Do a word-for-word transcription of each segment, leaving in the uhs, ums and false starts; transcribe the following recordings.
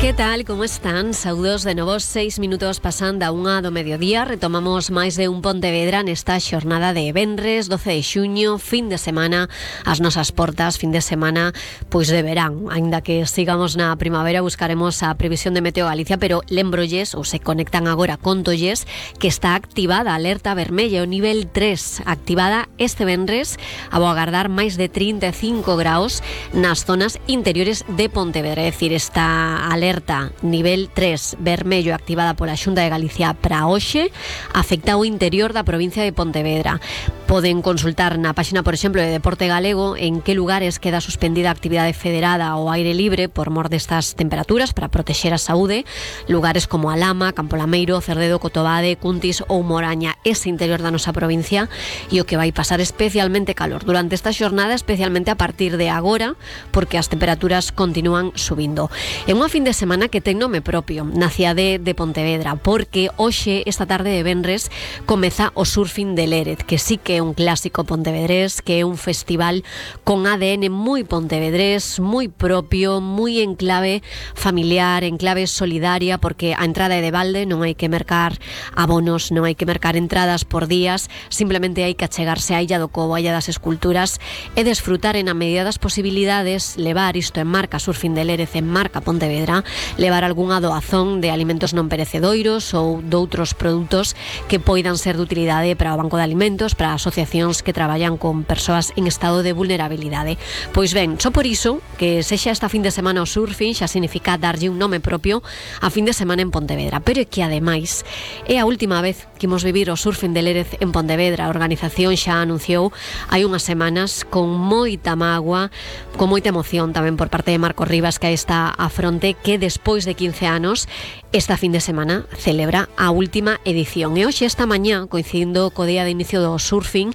Que tal, como están? Saúdos de novo, seis minutos pasando a unha do mediodía. Retomamos máis de un Pontevedra nesta xornada de venres, doce de xuño, fin de semana, as nosas portas, fin de semana, pois de verán. Ainda que sigamos na primavera, buscaremos a previsión de Meteo Galicia, pero lembrolles, ou se conectan agora, contolles, que está activada a alerta vermella, o nivel tres, activada este venres, a agardar máis de trinta e cinco graus nas zonas interiores de Pontevedra. É dicir, esta alerta nivel tres vermello activada pola Xunta de Galicia para hoxe afecta o interior da provincia de Pontevedra. Poden consultar na páxina, por exemplo, de Deporte Galego en que lugares queda suspendida a actividade federada ao aire libre por mor destas temperaturas para protexer a saúde. Lugares como Alama, Campo Lameiro, Cerdedo, Cotobade, Cuntis ou Moraña, ese interior da nosa provincia, e o que vai pasar especialmente calor durante esta xornada, especialmente a partir de agora, porque as temperaturas continúan subindo. É unha fin de semana que ten nome propio na cidade de Pontevedra, porque hoxe, esta tarde de venres, comeza o Surfing de Lérez, que sí que é un clásico pontevedrés, que é un festival con A D N moi pontevedrés, moi propio, moi en clave familiar, en clave solidaria, porque a entrada é de balde, non hai que mercar abonos, non hai que mercar entradas por días, simplemente hai que achegarse á Illa do Cobo, á Illa das Esculturas, e desfrutar en a medida das posibilidades, levar isto en marca Surfing de Lérez, en marca Pontevedra, levar algunha doazón de alimentos non perecedoiros ou doutros produtos que poidan ser de utilidade para o Banco de Alimentos, para asociacións que traballan con persoas en estado de vulnerabilidade. Pois ben, só por iso, que sexa esta fin de semana o surfing, xa significa darlle un nome propio a fin de semana en Pontevedra, pero é que ademais é a última vez que imos vivir o Surfing de Lérez en Pontevedra. A organización xa anunciou hai unhas semanas con moita mágoa, con moita emoción tamén por parte de Marcos Rivas, que aí está a fronte, que despois de quince anos esta fin de semana celebra a última edición. E hoxe, esta mañá, coincidindo co día de inicio do surfing,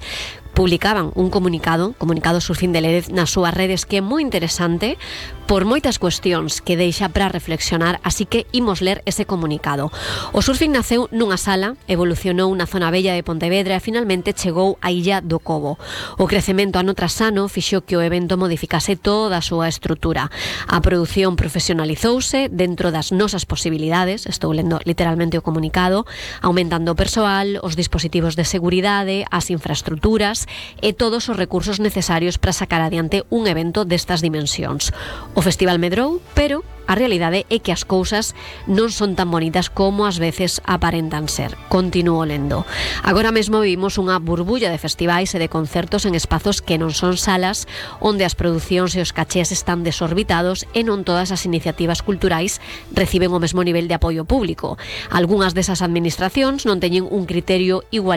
publicaban un comunicado, comunicado Surfing de Lérez nas súas redes, que é moi interesante por moitas cuestións que deixa para reflexionar, así que imos ler ese comunicado. O surfing naceu nunha sala, evolucionou na zona bella de Pontevedra e finalmente chegou á Illa do Cobo. O crecemento ano tras ano fixo que o evento modificase toda a súa estrutura. A produción profesionalizouse dentro das nosas posibilidades, estou lendo literalmente o comunicado, aumentando o persoal, os dispositivos de seguridade, as infraestruturas e todos os recursos necesarios para sacar adiante un evento destas dimensións. O festival medrou, pero a realidade é que as cousas non son tan bonitas como ás veces aparentan ser. Continúo lendo. Agora mesmo vivimos unha burbulla de festivais e de concertos en espazos que non son salas, onde as producións e os cachés están desorbitados e non todas as iniciativas culturais reciben o mesmo nivel de apoio público. Algúnas desas administracións non teñen un criterio igual